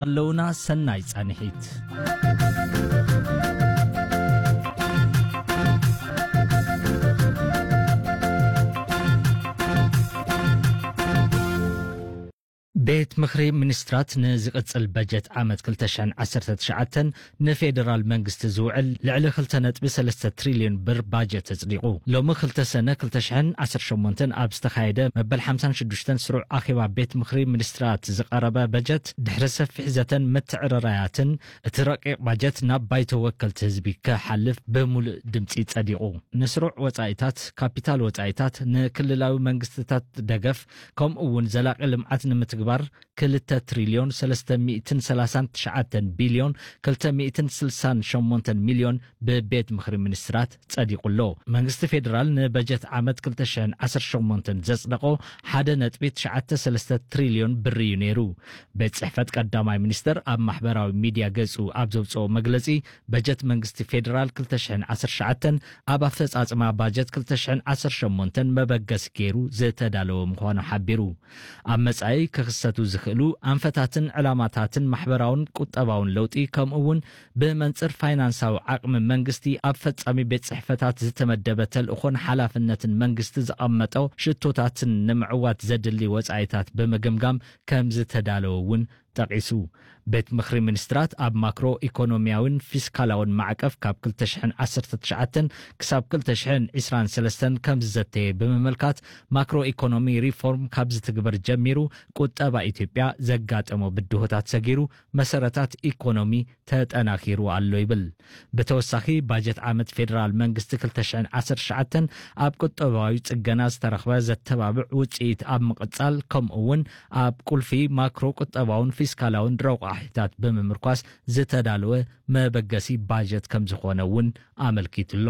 ኣለውና። ሰናይ ጻንሒት። ቤት ምኽሪ ሚኒስትራት ንዝቕጽል በጀት ዓመት ክልተ ሽሕን ዓሰርተ ትሽዓተን ንፌደራል መንግስቲ ዝውዕል ልዕሊ ክልተ ነጥቢ ሰለስተ ትሪልዮን ብር ባጀት ኣጽዲቑ። ሎሚ ክልተ ሰነ ክልተ ሽሕን ዓሰርተ ሸሞንተን ኣብ ዝተኻየደ መበል ሓምሳን ሽዱሽተን ስሩዕ ኣኼባ ቤት ምኽሪ ሚኒስትራት ዝቐረበ በጀት፣ ድሕሪ ሰፊሕ ዘተን ምትዕርራያትን፣ እቲ ረቂቕ ባጀት ናብ ባይቶ ወከልቲ ህዝቢ ክሓልፍ ብምሉእ ድምጺ ጸዲቑ። ንስሩዕ ወጻኢታት፣ ካፒታል ወጻኢታት፣ ንክልላዊ መንግስትታት ደገፍ፣ ከምኡ እውን ዘላቒ ልምዓት ንምትግባር ክልተ ትሪልዮን ሰለስተ ሚእትን ሰላሳን ትሽዓተን ቢልዮን ክልተ ሚእትን ስልሳን ሸሞንተን ሚልዮን ብቤት ምኽሪ ሚኒስትራት ጸዲቑ ኣሎ። መንግስቲ ፌደራል ንበጀት ዓመት ክልተ ሽሕን ዓሰርተ ሸሞንተን ዘጽደቖ ሓደ ነጥቢ ትሽዓተ ሰለስተ ትሪልዮን ብር እዩ ነይሩ። ቤት ጽሕፈት ቀዳማይ ሚኒስተር ኣብ ማሕበራዊ ሚድያ ገጹ ኣብ ዘውጽኦ መግለጺ፣ በጀት መንግስቲ ፌደራል ክልተ ሽሕን ዓሰርተ ትሽዓተን ኣብ ኣፈጻጽማ ባጀት ክልተ ሽሕን ዓሰርተ ሸሞንተን መበገሲ ገይሩ ዝተዳለወ ምዃኑ ሓቢሩ። ኣብ መጻኢ ክኽሰቱ ዝኽእሉ ኣንፈታትን ዕላማታትን ማሕበራውን ቁጠባውን ለውጢ፣ ከምኡ እውን ብመንጽር ፋይናንሳዊ ዓቕሚ መንግስቲ ኣብ ፈጻሚ ቤት ጽሕፈታት ዝተመደበ ተልእኾን ሓላፍነትን መንግስቲ ዘቐመጦ ሽቶታትን ንምዕዋት ዘድሊ ወጻኢታት ብምግምጋም ከም ዝተዳለወ እውን ጠቒሱ። ቤት ምኽሪ ሚኒስትራት ኣብ ማክሮ ኢኮኖሚያውን ፊስካላውን ማዕቀፍ ካብ ክልተ ሽሕን ዓሰርተ ትሽዓተን ክሳብ ክልተ ሽሕን ዕስራን ሰለስተን ከም ዝዘተየ ብምምልካት፣ ማክሮ ኢኮኖሚ ሪፎርም ካብ ዝትግበር ጀሚሩ ቁጠባ ኢትዮጵያ ዘጋጠሞ ብድሆታት ሰጊሩ፣ መሰረታት ኢኮኖሚ ተጠናኺሩ ኣሎ ይብል። ብተወሳኺ፣ ባጀት ዓመት ፌደራል መንግስቲ ክልተ ሽሕን ዓሰርተ ትሽዓተን ኣብ ቁጠባዊ ጽገና ዝተረኽበ ዘተባብዕ ውጽኢት ኣብ ምቕጻል፣ ከምኡ እውን ኣብ ቁልፊ ማክሮ ቁጠባውን ፊስካላውን ረቋሒታት ብምምርኳስ ዝተዳለወ መበገሲ ባጀት ከም ዝኾነ እውን ኣመልኪቱ ኣሎ።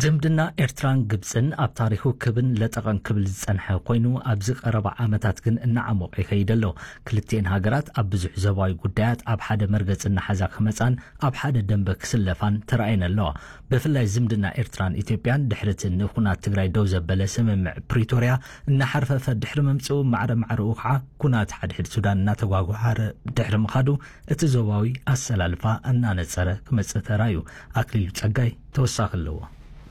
ዝምድና ኤርትራን ግብጽን ኣብ ታሪኹ ክብን ለጠቐን ክብል ዝጸንሐ ኮይኑ፣ ኣብዚ ቀረባ ዓመታት ግን እናዓሞቐ ይኸይድ ኣሎ። ክልቲኤን ሃገራት ኣብ ብዙሕ ዞባዊ ጉዳያት ኣብ ሓደ መርገጽ እናሓዛ ክመጻን ኣብ ሓደ ደንበ ክስለፋን ተራእየን ኣለዋ። ብፍላይ ዝምድና ኤርትራን ኢትዮጵያን ድሕሪ እቲ ንኹናት ትግራይ ደው ዘበለ ስምምዕ ፕሪቶርያ እናሓርፈፈ ድሕሪ ምምጽኡ፣ ማዕረ ማዕረኡ ከዓ ኩናት ሓድሕድ ሱዳን እናተጓጓሃረ ድሕሪ ምኻዱ፣ እቲ ዞባዊ ኣሰላልፋ እናነጸረ ክመጽእ ተራእዩ። ኣክሊሉ ጸጋይ ተወሳኺ ኣለዎ።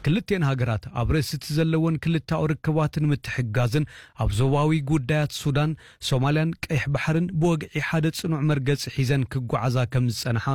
ክልቴን ሃገራት ኣብ ርእሲ እቲ ዘለወን ክልተኣዊ ርክባት ንምትሕግጋዝን ኣብ ዞባዊ ጉዳያት ሱዳን፣ ሶማልያን ቀይሕ ባሕርን ብወግዒ ሓደ ጽኑዕ መርገጺ ሒዘን ክጓዓዛ ከም ዝጸንሓ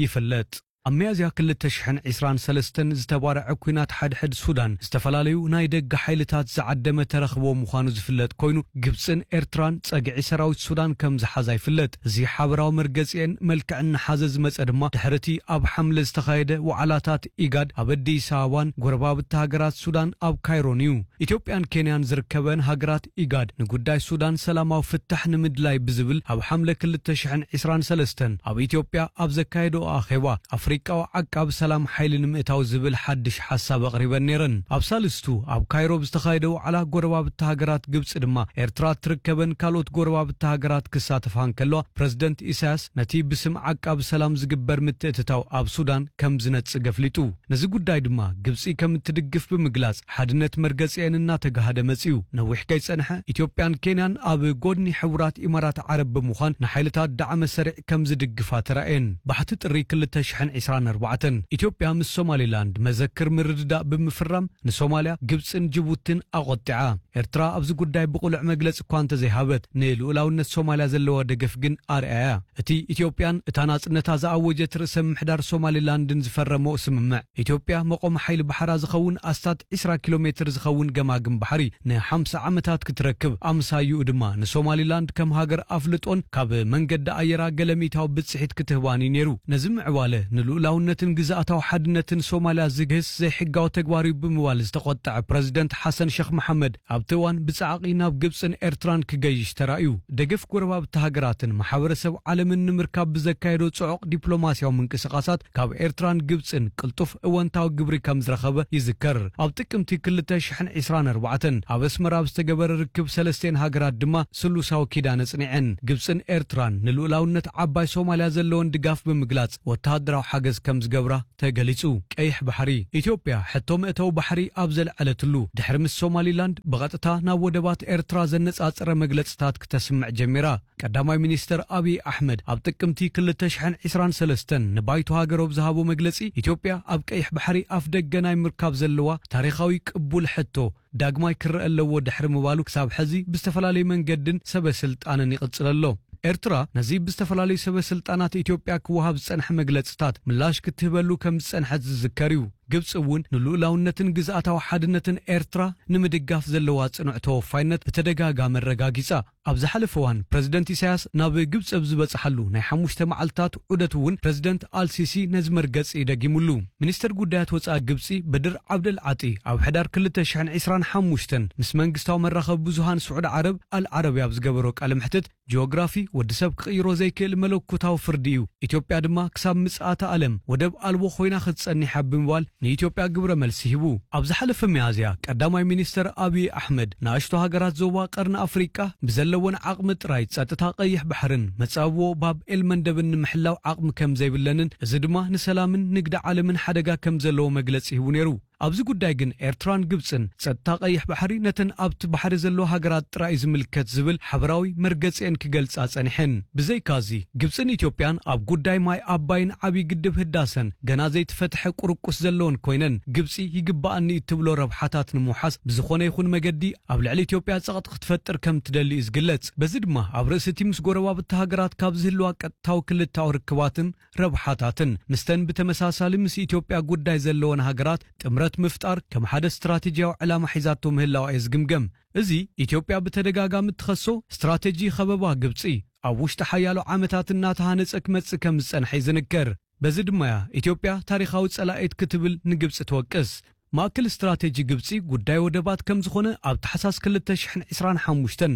ይፍለጥ። ኣብ ሚያዝያ ክልተ ሽሕን ዕስራን ሰለስተን ዝተባርዐ ኲናት ሓድሕድ ሱዳን፣ ዝተፈላለዩ ናይ ደገ ሓይልታት ዝዓደመ ተረኽቦ ምዃኑ ዝፍለጥ ኮይኑ፣ ግብጽን ኤርትራን ጸግዒ ሰራዊት ሱዳን ከም ዝሓዛ ይፍለጥ። እዚ ሓበራዊ መርገጺኤን መልክዕ እናሓዘ ዝመጸ ድማ፣ ድሕሪ እቲ ኣብ ሓምለ ዝተኻየደ ዋዕላታት ኢጋድ ኣብ ኣዲስ ኣበባን ጎረባብቲ ሃገራት ሱዳን ኣብ ካይሮን እዩ። ኢትዮጵያን ኬንያን ዝርከበን ሃገራት ኢጋድ፣ ንጉዳይ ሱዳን ሰላማዊ ፍታሕ ንምድላይ ብዝብል፣ ኣብ ሓምለ ክልተ ሽሕን ዕስራን ሰለስተን ኣብ ኢትዮጵያ ኣብ ዘካየደኦ ኣኼባ፣ ኣፍሪቃዊ ዓቃቢ ሰላም ሓይሊ ንምእታው ዝብል ሓድሽ ሓሳብ ኣቕሪበን ነይረን። ኣብ ሳልስቱ ኣብ ካይሮ ብዝተኻየደ ዋዕላ፣ ጎረባብቲ ሃገራት ግብጺ ድማ፣ ኤርትራ እትርከበን ካልኦት ጎረባብቲ ሃገራት ክሳተፋ እንከለዋ፣ ፕረዚደንት ኢሳያስ ነቲ ብስም ዓቃቢ ሰላም ዝግበር ምትእትታው ኣብ ሱዳን ከም ዝነጽግ ኣፍሊጡ። ነዚ ጉዳይ ድማ ግብጺ ከም እትድግፍ ብምግላጽ፣ ሓድነት መርገጺኤን እናተጋህደ መጺኡ። ነዊሕ ከይጸንሐ፣ ኢትዮጵያን ኬንያን ኣብ ጎድኒ ሕቡራት ኢማራት ዓረብ ብምዃን፣ ንሓይልታት ዳዕመ ሰሪዕ ከም ዝድግፋ ተራእየን። ባሕቲ ጥሪ ክልተ ሽሕን ዕስራን ኣርባዕተን፣ ኢትዮጵያ ምስ ሶማሊላንድ መዘክር ምርድዳእ ብምፍራም፣ ንሶማልያ፣ ግብጽን ጅቡትን ኣቖጢዓ። ኤርትራ ኣብዚ ጉዳይ ብቕሉዕ መግለጺ እኳ እንተዘይሃበት፣ ንልኡላውነት ሶማልያ ዘለዋ ደገፍ ግን ኣርኣያ። እቲ ኢትዮጵያን እታ ናጽነታ ዝኣወጀት ርእሰ ምምሕዳር ሶማሊላንድን ዝፈረመኦ ስምምዕ፣ ኢትዮጵያ መቆም ሓይሊ ባሕራ ዝኸውን ኣስታት ዕስራ ኪሎ ሜትር ዝኸውን ገማግም ባሕሪ ንሓምሳ ዓመታት ክትረክብ፣ ኣምሳይኡ ድማ ንሶማሊላንድ ከም ሃገር ኣፍልጦን ካብ መንገዲ ኣየራ ገለ ሚእታዊ ብጽሒት ክትህባን እዩ ነይሩ። ነዚ ምዕባለ ንልኡላውነትን ግዝኣታዊ ሓድነትን ሶማልያ ዝግህስ ዘይሕጋዊ ተግባር እዩ ብምባል ዝተቖጠዐ ፕረዚደንት ሓሰን ሸኽ መሓመድ፣ ኣብቲ እዋን ብጻዕቒ ናብ ግብጽን ኤርትራን ክገይሽ ተራእዩ። ደገፍ ጎረባብቲ ሃገራትን ማሕበረሰብ ዓለምን ንምርካብ ብዘካየዶ ጽዑቕ ዲፕሎማስያዊ ምንቅስቓሳት፣ ካብ ኤርትራን ግብጽን ቅልጡፍ እወንታዊ ግብሪ ከም ዝረኸበ ይዝከር። ኣብ ጥቅምቲ ክልተ ሽሕን ዕስራን ኣርባዕተን ኣብ ኣስመራ ኣብ ዝተገበረ ርክብ፣ ሰለስቴን ሃገራት ድማ ስሉሳዊ ኪዳን ኣጽኒዐን። ግብጽን ኤርትራን ንልኡላውነት ዓባይ ሶማልያ ዘለወን ድጋፍ ብምግላጽ፣ ወተሃደራዊ ሓገዝ ከም ዝገብራ ተገሊጹ። ቀይሕ ባሕሪ። ኢትዮጵያ ሕቶ መእተዊ ባሕሪ ኣብ ዘልዐለትሉ፣ ድሕሪ ምስ ሶማሊላንድ ብቐጥታ ናብ ወደባት ኤርትራ ዘነጻጸረ መግለጽታት ክተስምዕ ጀሚራ። ቀዳማይ ሚኒስተር ኣብይ ኣሕመድ ኣብ ጥቅምቲ ክልተ ሽሕን ዕስራን ሰለስተን ንባይቶ ሃገር ኣብ ዝሃቦ መግለጺ፣ ኢትዮጵያ ኣብ ቀይሕ ባሕሪ ኣፍ ደገ ናይ ምርካብ ዘለዋ ታሪኻዊ ቅቡል ሕቶ ዳግማይ ክረአ ኣለዎ ድሕሪ ምባሉ፣ ክሳብ ሕዚ ብዝተፈላለዩ መንገድን ሰበ ስልጣንን ይቕጽል ኣሎ። ኤርትራ ነዚ ብዝተፈላለዩ ሰበ ስልጣናት ኢትዮጵያ ክወሃብ ዝጸንሐ መግለጽታት ምላሽ ክትህበሉ ከም ዝጸንሐት ዝዝከር እዩ። ግብጺ እውን ንልኡላውነትን ግዝኣታዊ ሓድነትን ኤርትራ ንምድጋፍ ዘለዋ ጽኑዕ ተወፋይነት ብተደጋጋሚ ኣረጋጊጻ። ኣብ ዝሓለፈ እዋን ፕረዚደንት ኢሳያስ ናብ ግብጺ ኣብ ዝበጽሓሉ ናይ ሓሙሽተ መዓልታት ዑደት እውን ፕረዚደንት ኣልሲሲ ነዚ መርገጺ ደጊሙሉ። ሚኒስተር ጉዳያት ወጻኢ ግብጺ በድር ዓብደል ዓጢ ኣብ ሕዳር ክልተ ሽሕን ዕስራን ሓሙሽተን ምስ መንግስታዊ መራኸቢ ብዙሃን ስዑዲ ዓረብ ኣል ዓረብያ ኣብ ዝገበሮ ቃለ መሕትት፣ ጂኦግራፊ ወዲ ሰብ ክቕይሮ ዘይክእል መለኮታዊ ፍርዲ እዩ። ኢትዮጵያ ድማ ክሳብ ምጽኣተ ዓለም ወደብ ኣልቦ ኮይና ክትጸኒሕ ብምባል ንኢትዮጵያ ግብረ መልሲ ሂቡ። ኣብ ዝሓለፈ ሚያዝያ ቀዳማይ ሚኒስተር ኣብይ ኣሕመድ ንኣሽቱ ሃገራት ዞባ ቀርኒ ኣፍሪቃ ብዘለወን ዓቕሚ ጥራይ ጸጥታ ቀይሕ ባሕርን መጻብቦ ባብ ኤል መንደብን ንምሕላው ዓቕሚ ከም ዘይብለንን እዚ ድማ ንሰላምን ንግዲ ዓለምን ሓደጋ ከም ዘለዎ መግለጺ ሂቡ ነይሩ። ኣብዚ ጉዳይ ግን ኤርትራን ግብጽን ጸጥታ ቀይሕ ባሕሪ ነተን ኣብቲ ባሕሪ ዘለዋ ሃገራት ጥራይ እዩ ዝምልከት ዝብል ሓበራዊ መርገጺኤን ክገልጻ ጸኒሐን። ብዘይካዚ፣ ግብጽን ኢትዮጵያን ኣብ ጉዳይ ማይ ኣባይን ዓቢ ግድብ ህዳሰን ገና ዘይተፈትሐ ቁርቁስ ዘለወን ኮይነን፣ ግብጺ ይግባኣኒ እትብሎ ረብሓታት ንምውሓስ ብዝኾነ ይኹን መገዲ ኣብ ልዕሊ ኢትዮጵያ ጸቕጢ ክትፈጥር ከም ትደሊ እዩ ዝግለጽ። በዚ ድማ ኣብ ርእሲ እቲ ምስ ጎረባብቲ ሃገራት ካብ ዝህልዋ ቀጥታዊ ክልታዊ ርክባትን ረብሓታትን፣ ምስተን ብተመሳሳሊ ምስ ኢትዮጵያ ጉዳይ ዘለወን ሃገራት ጥምረት ምፍጣር ከም ሓደ ስትራቴጂያዊ ዕላማ ሒዛቶ ምህላዋ እዩ ዝግምገም። እዚ ኢትዮጵያ ብተደጋጋሚ እትኸሶ ስትራቴጂ ከበባ ግብጺ ኣብ ውሽጢ ሓያሎ ዓመታት እናተሃነጸ ክመጽእ ከም ዝጸንሐ ይዝንከር። በዚ ድማ እያ ኢትዮጵያ ታሪኻዊ ጸላኢት ክትብል ንግብጺ ትወቅስ። ማእከል ስትራቴጂ ግብጺ ጉዳይ ወደባት ከም ዝኾነ ኣብ ታሕሳስ ክልተ ሽሕን ዕስራን ሓሙሽተን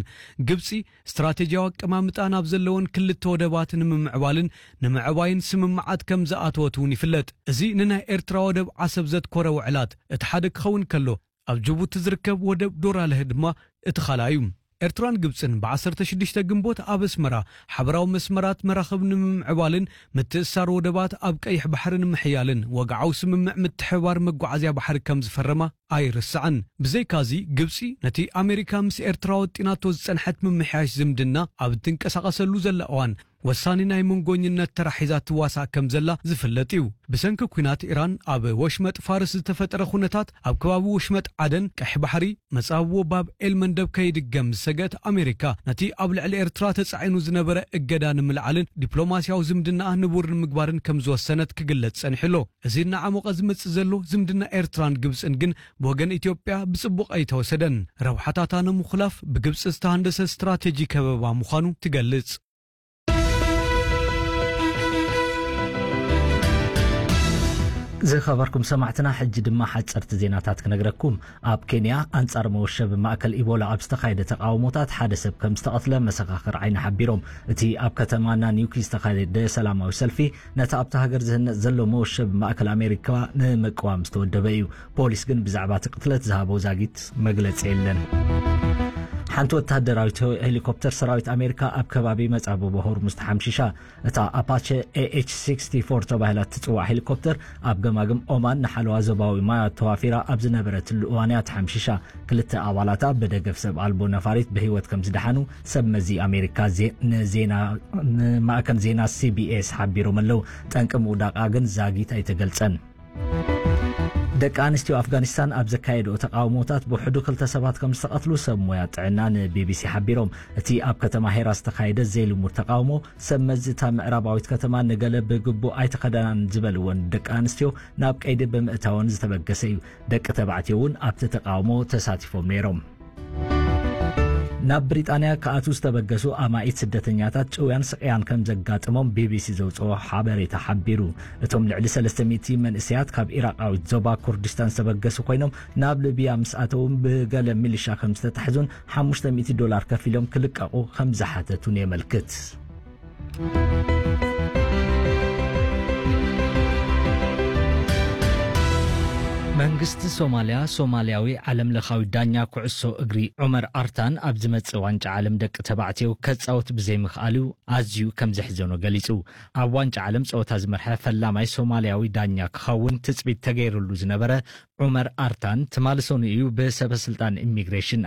ግብጺ ስትራቴጂያዊ ኣቀማምጣ ናብ ዘለወን ክልተ ወደባት ንምምዕባልን ንምዕባይን ስምምዓት ከም ዝኣተወት እውን ይፍለጥ። እዚ ንናይ ኤርትራ ወደብ ዓሰብ ዘትኮረ ውዕላት እቲ ሓደ ክኸውን ከሎ፣ ኣብ ጅቡቲ ዝርከብ ወደብ ዶራለህ ድማ እቲ ካልኣይ እዩ። ኤርትራን ግብጽን ብዓሰርተ ሽዱሽተ ግንቦት ኣብ ኣስመራ ሓበራዊ መስመራት መራኽብ ንምምዕባልን ምትእስሳር ወደባት ኣብ ቀይሕ ባሕሪ ንምሕያልን ወግዓዊ ስምምዕ ምትሕብባር መጓዓዝያ ባሕሪ ከም ዝፈረማ ኣይርሳዕን። ብዘይካዚ፣ ግብጺ ነቲ ኣሜሪካ ምስ ኤርትራ ወጢናቶ ዝጸንሐት ምምሕያሽ ዝምድና ኣብ እትንቀሳቐሰሉ ዘላ እዋን ወሳኒ ናይ መንጎኝነት ተራ ሒዛ ትዋሳእ ከም ዘላ ዝፍለጥ እዩ። ብሰንኪ ኲናት ኢራን ኣብ ወሽመጥ ፋርስ ዝተፈጠረ ኩነታት፣ ኣብ ከባቢ ወሽመጥ ዓደን ቀይሕ ባሕሪ መጻብቦ ባብ ኤል መንደብ ከይድገም ዝሰገት ኣሜሪካ፣ ነቲ ኣብ ልዕሊ ኤርትራ ተጻዒኑ ዝነበረ እገዳ ንምልዓልን ዲፕሎማስያዊ ዝምድናኣ ንቡር ንምግባርን ከም ዝወሰነት ክግለጽ ጸኒሑ ኣሎ። እዚ እናዓሞቐ ዝመጽእ ዘሎ ዝምድና ኤርትራን ግብጽን ግን ብወገን ኢትዮጵያ ብጽቡቕ ኣይተወሰደን። ረብሓታታ ንምኹላፍ ብግብጺ ዝተሃንደሰ ስትራቴጂ ከበባ ምዃኑ ትገልጽ። ዝኸበርኩም ሰማዕትና፣ ሕጂ ድማ ሓጸርቲ ዜናታት ክነግረኩም። ኣብ ኬንያ፣ ኣንጻር መወሸቢ ማእከል ኢቦላ ኣብ ዝተኻየደ ተቓውሞታት ሓደ ሰብ ከም ዝተቐትለ መሰኻኽር ዓይኒ ሓቢሮም። እቲ ኣብ ከተማ ናኒውኪ ዝተኻየደ ሰላማዊ ሰልፊ፣ ነቲ ኣብታ ሃገር ዝህነጽ ዘሎ መወሸቢ ማእከል ኣሜሪካ ንምቅዋም ዝተወደበ እዩ። ፖሊስ ግን ብዛዕባ እቲ ቅትለት ዝሃቦ ዛጊት መግለጺ የለን። ሓንቲ ወተሃደራዊት ሄሊኮፕተር ሰራዊት ኣሜሪካ ኣብ ከባቢ መጻብቦ ሆርሙዝ ተሓምሺሻ። እታ ኣፓቸ ኤ ኤች ሲክስቲ ፎር ተባሂላ እትጽዋዕ ሄሊኮፕተር፣ ኣብ ገማግም ኦማን ንሓለዋ ዞባዊ ማያት ተዋፊራ ኣብ ዝነበረትሉ እዋን እያ ተሓምሺሻ። ክልተ ኣባላታ ብደገፍ ሰብ ኣልቦ ነፋሪት ብህይወት ከም ዝደሓኑ ሰብ መዚ ኣሜሪካ ዜ-፣ ንዜና፣ ንማእከል ዜና ሲ ቢ ኤስ ሓቢሮም ኣለዉ። ጠንቂ ምውዳቓ ግን ዛጊት ኣይተገልጸን። ደቂ ኣንስትዮ ኣፍጋኒስታን ኣብ ዘካየድኦ ተቓውሞታት ብውሕዱ ክልተ ሰባት ከም ዝተቐትሉ ሰብ ሞያ ጥዕና ን ቢ ቢ ሲ ሓቢሮም። እቲ ኣብ ከተማ ሄራ ዝተኻየደ ዘይልሙድ ተቓውሞ፣ ሰብ መዚ እታ ምዕራባዊት ከተማ ንገለ ብግቡእ ኣይተኸደናን ዝበልወን ደቂ ኣንስትዮ ናብ ቀይዲ ብምእታወን ዝተበገሰ እዩ። ደቂ ተባዕትዮ እውን ኣብቲ ተቓውሞ ተሳቲፎም ነይሮም። ናብ ብሪጣንያ ክኣትዉ ዝተበገሱ ኣማኢት ስደተኛታት ጭውያን ስቕያን ከም ዘጋጥሞም ቢ ቢ ሲ ዘውፅኦ ሓበሬታ ሓቢሩ። እቶም ልዕሊ ሰለስተ ሚእቲ መንእሰያት ካብ ኢራቃዊት ዞባ ኩርዲስታን ዝተበገሱ ኮይኖም፣ ናብ ሊብያ ምስ ኣተዉ ብገለ ሚሊሻ ከም ዝተታሕዙን ሓሙሽተ ሚእቲ ዶላር ከፊሎም ክልቀቑ ከም ዝሓተቱን የመልክት። መንግስቲ ሶማልያ፣ ሶማልያዊ ዓለም ለኻዊ ዳኛ ኩዕሶ እግሪ ዑመር ኣርታን ኣብ ዝመጽእ ዋንጫ ዓለም ደቂ ተባዕትዮ ከጻወት ብዘይምኽኣሉ ኣዝዩ ከም ዘሕዘኖ ገሊጹ። ኣብ ዋንጫ ዓለም ጸወታ ዝመርሐ ፈላማይ ሶማልያዊ ዳኛ ክኸውን ትጽቢት ተገይሩሉ ዝነበረ ዑመር ኣርታን፣ ትማሊ ሰኑይ እዩ ብሰበ ስልጣን ኢሚግሬሽን